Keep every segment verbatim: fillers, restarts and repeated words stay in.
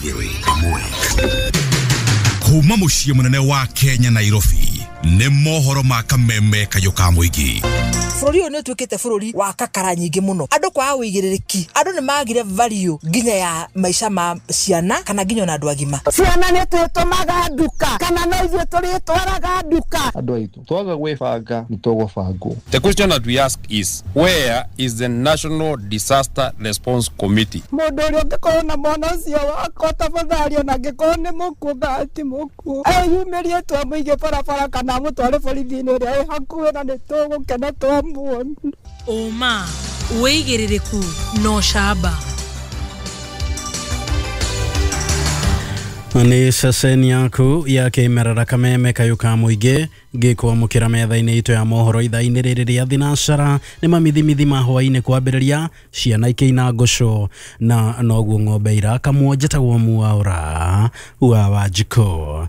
Ĩmwe kuma mũciĩ mũnene wa Kenya Nairobi nĩ mohoro ma kameme kayũ ka mũingĩ. Bũrũri ũyũ nĩ ũtuĩkĩte bũrũri wa kakara nyingĩ mũno, andũ kwaga ũigĩrĩrĩki, andũ nĩ magire value nginya ya maica ma ciana kana nginya ona andũ agima. Ciana nĩ twĩtũmaga nduka kana no ithuĩ tũrĩtwaraga nduka. Andũ aitũ twaga gwĩbanga nĩ tũgũbangwo. The question that we ask is, where is the National Disaster Response Committee? Mũndũ ũrĩa ũngĩkorwo na mwana ũcio wakwa tafadhali, ona angĩkorwo nĩ mũkuũ kana ti mũkuũ, eyumĩrie twamũige barabara kana amũtware borithi-inĩ ĩrĩa ĩ hakuhĩ na nĩ tũgũkena twamuona. Ũma, wĩigĩrĩrĩku na ũcamba. Nĩ ceceni yaku ya kĩmerera kameme kayũ ka mũingĩ ngĩkwamũkĩra metha-inĩ itũ ya mohoro ithaa-inĩ rĩrĩ rĩa thinacara. Nĩ mamithimithi ma hwaĩ-inĩ kwambĩrĩria ciana ikĩina ngũcũ na noguo ng'ombe irakamwo. Njĩtagwo Mwaũra wa Wanjikũ.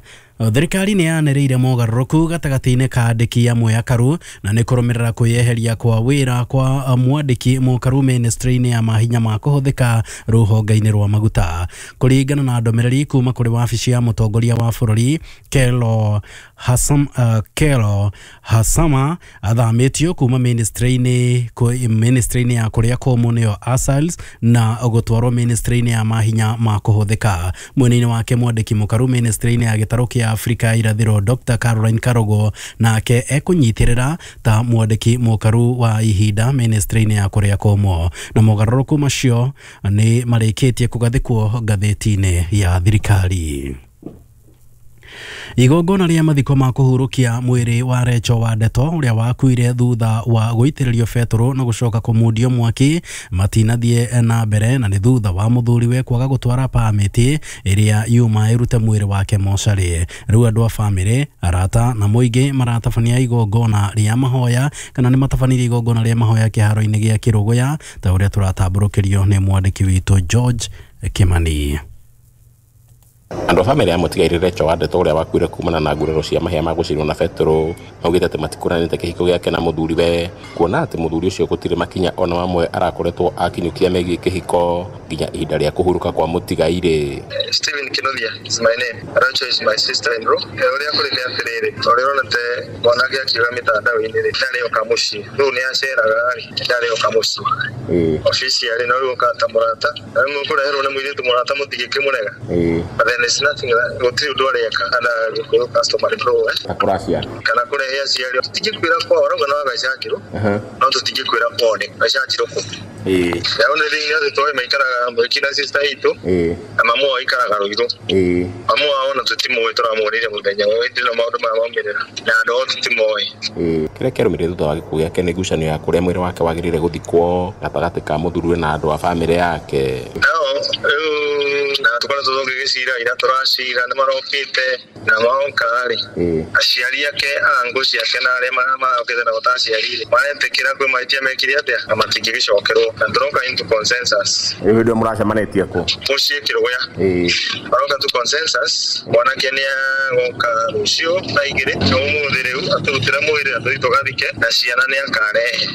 Thirikari nĩ yanĩrĩire mogarũrũku gatagatĩ-inĩ ka andĩki amwe akaru na nĩ kũrũmĩrĩra kwĩyeheria kwa wĩra kwa mwandĩki mũkaru ministry-inĩ ya mahinya ma kũhũthĩka rũhonge-inĩ rwa maguta. Kũringana na ndũmĩrĩri kuma kũrĩ wabici ya mũtongoria wa bũrũri Kelo Hasam, uh, Kelo Hasama athamĩtio kuma ministry-inĩ ministry-inĩ ya kũrĩa kũmũ nĩyo ASALs na gũtwarwo ministry-inĩ ya mahinya ma kũhũthĩka. Mwena-inĩ wake mwandĩki mũkaru ministry-inĩ ya gĩtarũ kĩa Afrika ya irathĩro Doctor Caroline Karogo nake ekũnyitĩrĩra ta mwandĩki mũkaru wa ihinda ministry-inĩ ya kũrĩa kũmũ. Na mogarũrũku macio nĩ marĩkĩtie kũgathĩkwo ngathĩti-inĩ ya thirikari. Igongona rĩa mathiko ma kũhurũkia mwĩrĩ wa Recho wa Ndeto ũrĩa wakuire thutha wa gũitĩrĩrio betũrũ na gũcoka kũmundio mwaki matinathiĩ na mbere, na nĩ thutha wa mũthuriwe kwaga gũtwara pamĩti ĩrĩa yuma ĩrute mwĩrĩ wake mocarĩ. Rĩu andũ a bamĩrĩ, arata na mũingĩ maratabania igongona rĩa mahoya kana nĩ matabanirie igongona rĩa mahoya kĩharo-inĩ gĩa Kĩrũgũya ta ũrĩa tũratambũrũkĩrio nĩ mwandĩki witũ George Kimani. Andũ a bamĩrĩ ya mũtigairĩ Recho wa Ndeto ũrĩa wakuire kumana na nguraro cia mahĩa ma gũcinwo na betũrũ maugĩte atĩ matikũranĩte kĩhiko gĩake na mũthuriwe, kuona atĩ mũthuri ũcio gũtirĩ makinya ona mamwe arakoretwo akinyũkia megiĩ kĩhiko nginya ihinda rĩa kũhurũka kwa mũtigairĩ. Stephen Kinothia is my name. Recho is my sister-in-law. Ũrĩa kũrĩ nĩ atĩrĩrĩ, ũrĩa ũronete mwanake akiuga mĩtandao-inĩ rĩ, ndarĩ oka mũciĩ. Rĩu nĩ aceraga rĩ, ndarĩ oka mũciĩ. Officially no rĩu okaga ta mũrata. Na rĩu mũkũreherwo nĩ mũirĩtu mũrata mũtingĩkĩmũrega. But then it's nothing that gũtirĩ ũndũ areka ana gũkũ customer flow eh kũracia kana kũrehe aciari tũtingĩkwĩra kwao arauga no agacanjirwo no tũtingĩkwĩra kwao nĩ gacanjirwo kũ. Ĩĩ The only thing nĩ atĩ tũĩ maikaraga Mwiki na sister itũ na mamu wao aikaraga Ruiru. Mamu wao ona tũtimũĩ, tũramuonire mũthenya ũyũ hĩndĩ ĩno maũndũ maya maumĩrĩra na andũ ao tũtimoĩ. Kĩrĩa kĩarũmĩrĩire thutha wa gĩkuũ gĩake nĩ ngucanio ya kũrĩa mwĩrĩ wake wagĩrĩire gũthikwo gatagatĩ ka mũthuriwe na andũ a bamĩrĩ yake. Nao rĩu na tũkoretwo tũgĩgĩcira ira tũracira nĩ marokĩte na maoka rĩ, aciari ake angũ ciake na arĩa marokĩte nao ta aciari rĩ maretĩkĩra kwĩ mahĩtia mekire atĩa na matingĩgĩcokerwo na tũroka into consensus. Rĩu hĩndĩ ĩyo mũracemanĩtie kũ? Mũciĩ Kĩrũgũya. Maroka to consensus mwanake nĩ agoka rũciũ thaa igĩrĩ na ũmũthĩ rĩu atũrutĩre mwĩrĩ na tũthiĩ tũgathike na ciana nĩ akarehe.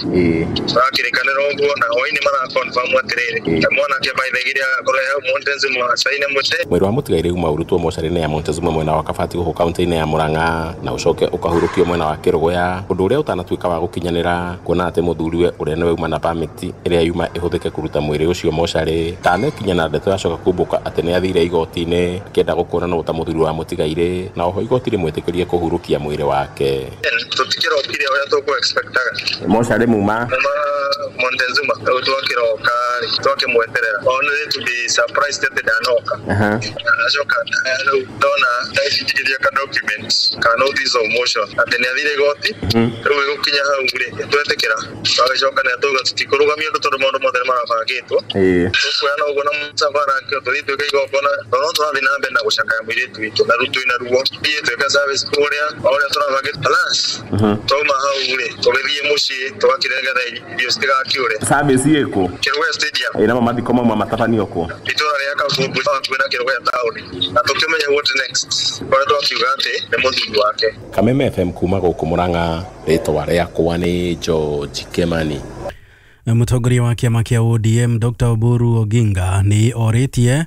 Tũrakĩrĩkanĩra ũguo na hwaĩ-inĩ maraconfirm atĩrĩrĩ na mwanake by thaa igĩrĩ agakorwo he hau Montezuma acaine mũtĩ. Mwĩrĩ wa mũtigairĩ uma ũrutwo mocarĩ-inĩ ya Montezuma mwena wa Kabati gũkũ kaunti-inĩ ya Murang'a na ũcoke ũkahurũkio mwena wa Kĩrũgũya, ũndũ ũrĩa ũtanatuĩka wa gũkinyanĩra kuona atĩ mũthuriwe ũrĩa nĩwe uma na pamĩti ĩrĩa yuma ĩhũthĩke kũruta mwĩrĩ ũcio mocarĩ ndanekinya na ndeto yacoka kumbũka atĩ nĩ athire igoti-inĩ akĩenda gũkũranwo ta mũthuri wa mũtigairĩ na oho igoti rĩmwĩtĩkĩrie kũhurũkia mwĩrĩ wake. Tũtikĩrokire ũrĩa tũkũ expectaga mocarĩ muma muma Montezuma rĩu twakĩroka rĩ twakĩmweterera only to be surprised atĩ ndanoka. Acoka rĩu ndona ndacinjikĩria ka document ka notice of motion atĩ nĩ athire igoti rĩu ĩgũkinya hau rĩ twetĩkĩra twagĩcoka nĩ atauga tũtikũrũgamia ũndũ tondũ maũndũ mothe nĩ marabangĩtwo tũkuoya na ũguo na mũcabara tũthiĩ twĩke igongona tondũ no tũrathiĩ na mbere na gũcakaya mũirĩtu witũ na rĩu twĩna ruo thiĩ twĩke service kũrĩa o ũrĩa tũrabangĩte plus twauma hau rĩ tũgĩthiĩ mũciĩ tũgakĩrĩa nĩgetha irio citigakĩũre. Service ĩkũ? Kĩrũgũya Stadium. Ĩ namo mathiko mauma matabanio kũ? Itũra rĩa Kabumbu hakuhĩ na Kĩrũgũya taũni na tũkĩmenya what next kũrĩa twakiuga atĩ nĩ mũthuri wake. Kameme F M kuma gũkũ Murang'a, rĩtwa rĩakwa nĩ George Kimani. Mũtongoria wa kĩama kĩa O D M Doctor Oburu Oginga nĩ orĩtie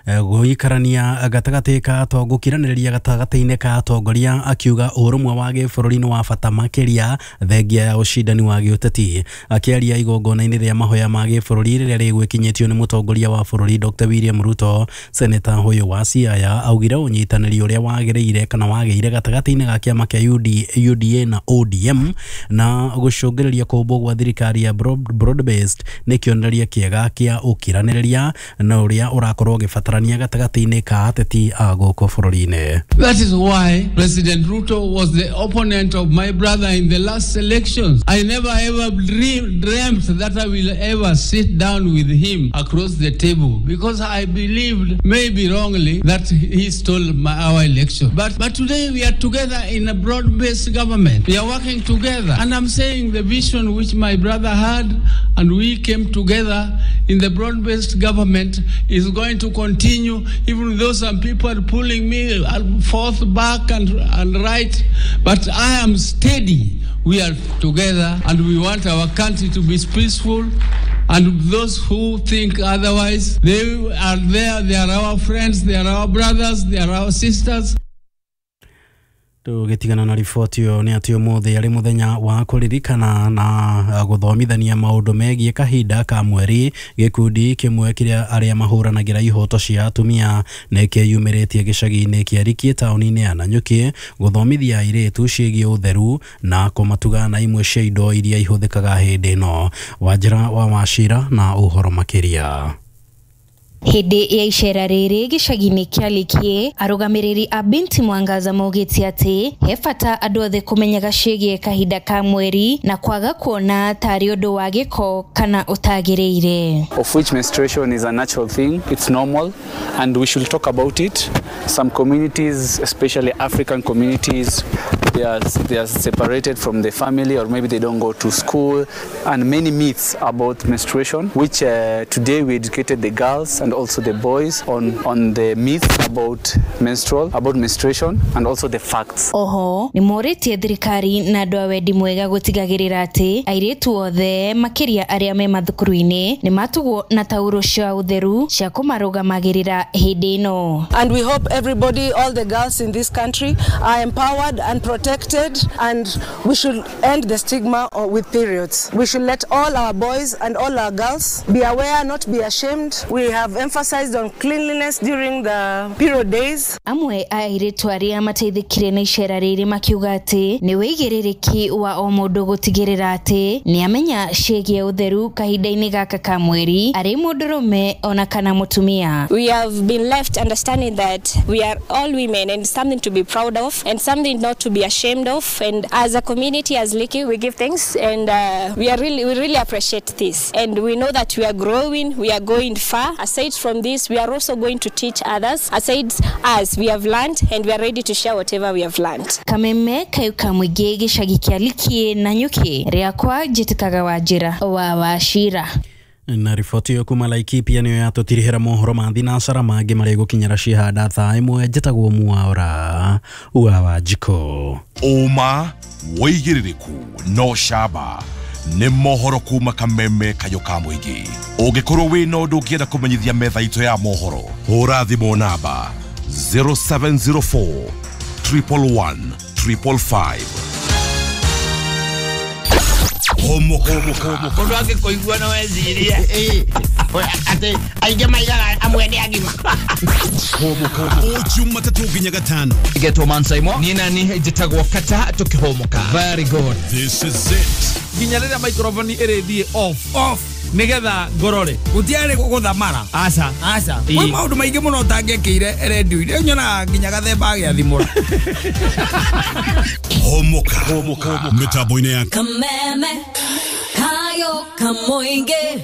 Gũikarania gatagatĩ ka atongo gũkiranĩrĩria gatagatĩ-inĩ ka atongoria akiuga ũrũmwe wa gĩbũrũri nĩ wa bata makĩria thengia ya ũcindani wa gĩũteti. Akĩaria igongona-inĩ rĩa mahoya ma gĩbũrũri rĩrĩa rĩgwĩkinyĩtio nĩ mũtongoria wa bũrũri Doctor William Ruto, seneta ũyũ wa Siaya augire ũnyitanĩri ũrĩa wagĩrĩire kana wagĩire gatagatĩ-inĩ ga kĩama kĩa U D A na O D M na gũcũngĩrĩria kũmbwo gwa thirikari ya broad based nĩ kĩonereria kĩega kĩa ũkiranĩrĩria na ũrĩa ũrakorwo ũgĩbatarania gatagatĩ-inĩ ka ateti a gũkũ bũrũri-inĩ. That is why President Ruto was the opponent of my brother in the last elections. I never ever dreamed, dreamt that I will ever sit down with him across the table, because I believed, maybe wrongly, that he stole my, our election. But, but today we are together in a broad-based government. We are working together. And I'm saying the vision which my brother had and we came together in the broad-based government is going to continue, even though some people are pulling me forth, back and, and right. But I am steady. We are together and we want our country to be peaceful. And those who think otherwise, they are there, they are our friends, they are our brothers, they are our sisters. Tũgĩtigana na riboti ĩyo nĩ atĩ ũmũthĩ arĩ mũthenya wa kũririkana na gũthomithania maũndũ megiĩ kahinda ka mweri, gĩkundi kĩmwe kĩrĩa arĩa mahũranagĩra ihoto cia atumia nĩ kĩyumĩrĩtie gĩcagi-inĩ kĩa Rikie taũni-inĩ ya Nanyuki gũthomithia airĩtu ciĩgiĩ ũtheru na kũmatuga na imwe cia indo iria ihũthĩkaga hĩndĩ ĩno. Wanjĩra wa Wachira na ũhoro makĩria. Hĩndĩ ya icera rĩrĩ gĩcagi-inĩ kĩa Likie, arũgamĩrĩri a Binti Mwangaza maugĩte atĩ he bata andũ othe kũmenyaga ciĩgiĩ kahinda ka mweri na kwaga kuona tarĩ ũndũ wa gĩko kana ũtagĩrĩire. Of which menstruation is a natural thing, it's normal and we should talk about it. Some communities, especially African communities, they are, they are separated from the family, or maybe they don't go to school, and many myths about menstruation, which uh, today we educated the girls and also the boys on, on the myths about menstrual, about menstruation and also the facts. Oho, nĩ morĩtie thirikari na andũ a wendi mwega gũtigagĩrĩra atĩ airĩtu othe makĩria arĩa me mathukuru-inĩ nĩ matugwo na tauro cia ũtheru cia kũmarũgamagĩrĩra hĩndĩ ĩno. And we hope everybody, all the girls in this country are empowered and protected, and we should end the stigma with periods. We should let all our boys and all our girls be aware, not be ashamed. We have emphasized on cleanliness during the period days. Amwe a airĩtu arĩa mateithĩkire na icera rĩrĩ makiuga atĩ nĩ wĩigĩrĩrĩki wa o mũndũ gũtigĩrĩra atĩ nĩ amenya ciĩgiĩ ũtheru kahinda-inĩ gaka ka mweri arĩ mũndũrũme ona kana mũtumia. We have been left understanding that we are all women and something to be proud of and something not to be ashamed of, and as a community, as Liki, we give thanks and uh, we are really we really appreciate this, and we know that we are growing, we are going far. Aside from this, we are also going to teach others. Aside us, we have learned and we are ready to share whatever we have learned. Kameme Kayuka Mwige gĩcagi kĩa Likie Nanyuki, rĩakwa njĩtĩkaga Wanjĩra wa Wachira. Na riboti ĩyo kuma Laikipia nĩyo yatũtirihĩra mohoro ma thinacara mangĩ marĩa gũkinyĩra cihanda thaa ĩmwe. Njĩtagwo Mwaura wa Wanjikũ. Ũma wĩigĩrĩrĩku no camba nĩ mohoro kuma Kameme Kayũ ka Mũingĩ. Ũngĩkorwo wĩna ũndũ ũngĩenda kũmenyithia metha itũ ya mohoro, hũra thimũ namba zero seven zero four triple one triple five. Homo homo homo Mũndũ angĩkũigua no ecirie atĩ aingĩ maigaga amwe nĩ agima. Homo homo o Jumatatũ nginya Gatano. Getwo Mansaimo niĩ nani njĩtagwo Kata tũkĩhũmũka. Very good. This is it. Nginya rĩrĩa microphone ĩrĩthiĩ off off nigetha ngorore gutiarĩ gũthamara. Aca aca kwĩ maũndũ maingĩ mũno ũtangĩkĩire redio-inĩ, nyonaga nginya gathemba agĩathimũra. Homoka homoka mĩtambo-inĩ ya Kameme Kayo Kamoinge.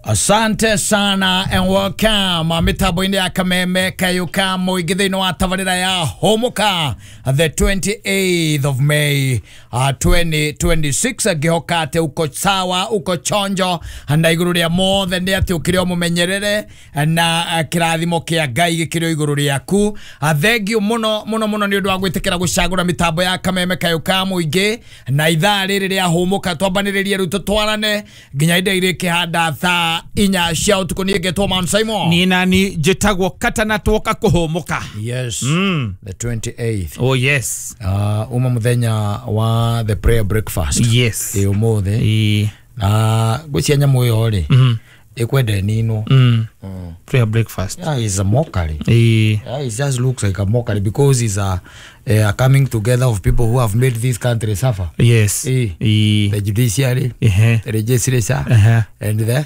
Asante sana and welcome mitambo-inĩ ya Kameme Kayo Kamoinge thĩinĩ wa tabarĩra ya Homoka the twenty-eighth of May uh, twenty twenty-six. Ngĩhoka atĩ uko sawa, uko chonjo na igũrũ rĩa mothe nĩ atĩ ũkĩrĩ o mũmenyerere na kĩrathimo kĩa Ngai gĩkĩrĩ o igũrũ rĩaku. Thengiũ mũno mũno mũno nĩ ũndũ wa gwĩtĩkĩra gũcagũra mĩtambo ya Kameme Kayo Kamoinge na ithaa rĩrĩ rĩa Homoka twambanĩrĩrie rĩu tũtwarane nginya indo irĩkĩhanda thaa thaa inya cia ũtukũ. Niĩ ngetwo Man Simon. Niĩ nani njĩtagwo Katana twoka kũhũmũka. Yes. Mm. The twenty-eighth. Oh yes. Uh, uma muthenya wa the prayer breakfast. Yes. Ĩ ũmũthĩ. Ĩ. Na ngwĩciria nyamũ ĩyo rĩ. Mm. Ĩkwenda ĩninwo. Mm. Mm. Prayer breakfast. Yeah, it's a mockery. Ĩ. Yeah, it just looks like a mockery because it's a, a coming together of people who have made this country suffer. Yes. Ĩ. Ĩ. The judiciary, Ehe. the legislature, Uh-huh. and the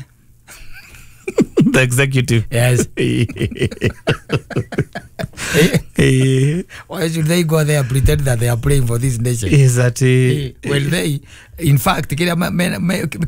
the executive. Yes. Eh. Why should they go there and pretend that they are praying for this nation? Is that eh, well, they in fact kira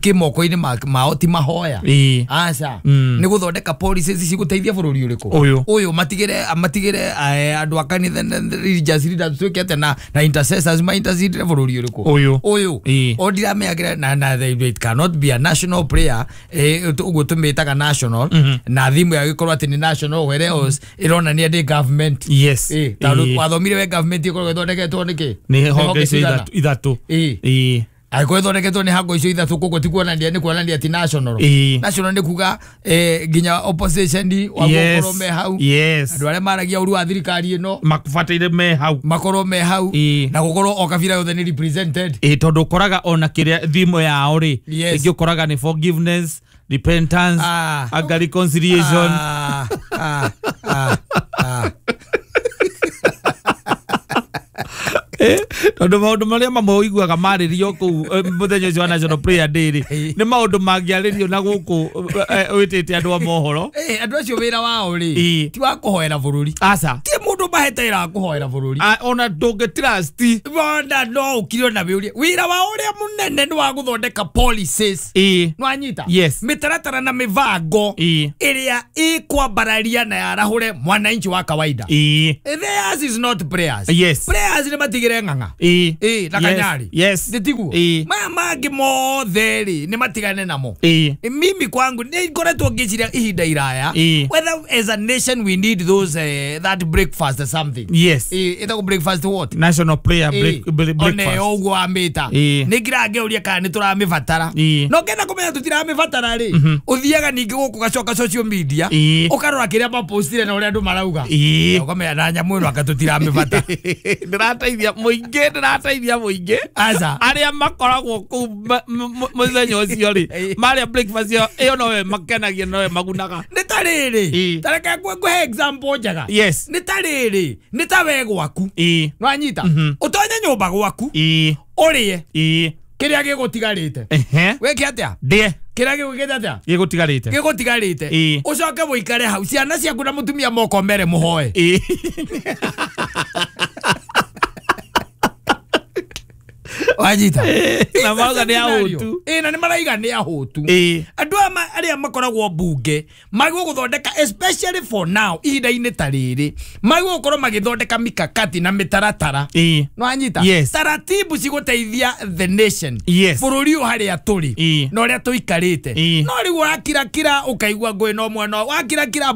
ki moko-inĩ mao ti mahoya. Ĩ. Aca. Mm. Nĩ gũthondeka policies cigũteithia bũrũri ũrĩkũ. Ũyũ. Ũyũ matigĩre matigĩre andũ a kanitha religious leaders tuĩke atĩa na na intercessors ma intercede bũrũri ũrĩkũ. Ũyũ. Ũyũ. Ĩ. O ndirameyagĩra na na it cannot be a national prayer eh ũguo tũmĩtaga national Mhm. na thimu yagĩkorwo atĩ nĩ national where else ĩronania ndĩ government. Yes. Ĩ, tondũ Ĩ. wathomire we government ĩkoragwo ĩthondeketwo nĩkĩ? Nĩ honge icio cigana? ithatũ ithatũ. Ĩ. Ĩ. Angĩkorwo ĩthondeketwo nĩ hango icio ithatũ koguo ti kuonania nĩ kuonania ti national. Ĩ. National nĩ kuga eh, nginya opposition Yes. wagũkorwo me hau. Yes. Andũ arĩa maragia ũru wa thirikari ĩno Makubataire me hau. makorwo me hau Ĩ. na gũkorwo o kabira yothe nĩ represented. Ĩ tondũ ũkoraga ona kĩrĩa thimo yao rĩ Yes. ĩngĩ ũkoraga nĩ forgiveness, repentance, Ah. anga reconciliation. Ah, ah, ah, ah. Eh, tondũ maũndũ marĩa mamwe ũiguaga marĩrio kũu eh, mũthenya ũcio wa National Prayer Day rĩ nĩ maũndũ mangĩarĩrio na gũkũ eh, wĩtĩte andũ a mohoro. Eh, andũ acio wĩra wao rĩ Ĩ. ti wa kũhoera bũrũri. Aca. Ti mũndũ mahete wĩra wa kũhoera bũrũri. Ah, ona ndũngĩ trust. Wona no ũkire ona wĩũrie wĩra wao ũrĩa mũnene nĩ wa gũthondeka policies. Ĩ. Nĩwanyita? Yes. Mĩtaratara na mĩbango Ĩ. ĩrĩa ĩkwambararia na yarahũre mwananchi wa kawaida. Ĩ. Theirs is not prayers. Yes. Prayers nĩ matigĩre ng'ang'a. Ĩ. Ĩ, na Yes. kanyari. Yes. Nĩ tiguo? Ĩ. Maya mangĩ mothe rĩ nĩ matigane namo. Ĩ. Mimi kwangu nĩ ngoretwo ngĩciria ihinda iraya Ĩ. whether as a nation we need those uh, that breakfast or something. Yes. Ĩ, ĩtagwo breakfast what? National prayer break, break, Ĩ, one breakfast. ũguo wamĩta Ĩ. nĩ ngira ngĩũria kana nĩ tũramĩbatara Ĩ. no ngenda kũmenya tũtiramĩbatara rĩ ũthiaga ningĩ gũkũ gacoka social media Ĩ. ũkarora kĩrĩa mapostire na ũrĩa andũ marauga Ĩ. Na ũkamenya na nyamũ ĩno anga tũtiramĩbatara. Ndĩrateithia mũingĩ ndĩrateithia mũingĩ Aca. arĩa makoragwo kũu ma- m- m- mũthenya ũcio rĩ marĩa breakfast ĩyo ĩyo nowe makenagia nowe magunaga. Nĩ ta rĩrĩ Ĩ. ta reke ngũhe example njega. Yes. Nĩ ta rĩrĩ nĩ ta we gwaku Ĩ. nĩwanyita Mhm. ũtonye nyũmba gwaku Ĩ. ũrĩe Ĩ. kĩrĩa gĩgũtigarĩte. Ehe. Wĩke atĩa? Ndĩe Kĩrĩa gĩgwĩkĩte atĩa? gĩgũtigarĩte. Gĩgũtigarĩte. Ĩ. Ũcoke mũikare hau ciana ciaku na mũtumia mokomere mũhoe. Ĩ. Wanyita? Na marauga nĩ ahũtu. Ĩ, na nĩ maraiga nĩ ahũtu. Ĩ. Andũ aya ma- arĩa makoragwo mbunge magĩrĩirwo gũthondeka especially for now ihinda-inĩ ta rĩrĩ magĩrĩirwo gũkorwo magĩthondeka mikakati na mĩtaratara. Ĩ. Nĩwanyita? Yes. Taratibu cigũteithia the nation. Yes. Bũrũri ũyũ harĩa tũrĩ Ĩ. na ũrĩa tũikarĩte. Ĩ. No rĩu wakirakira ũkaigua ngũĩ no mwena wakirakira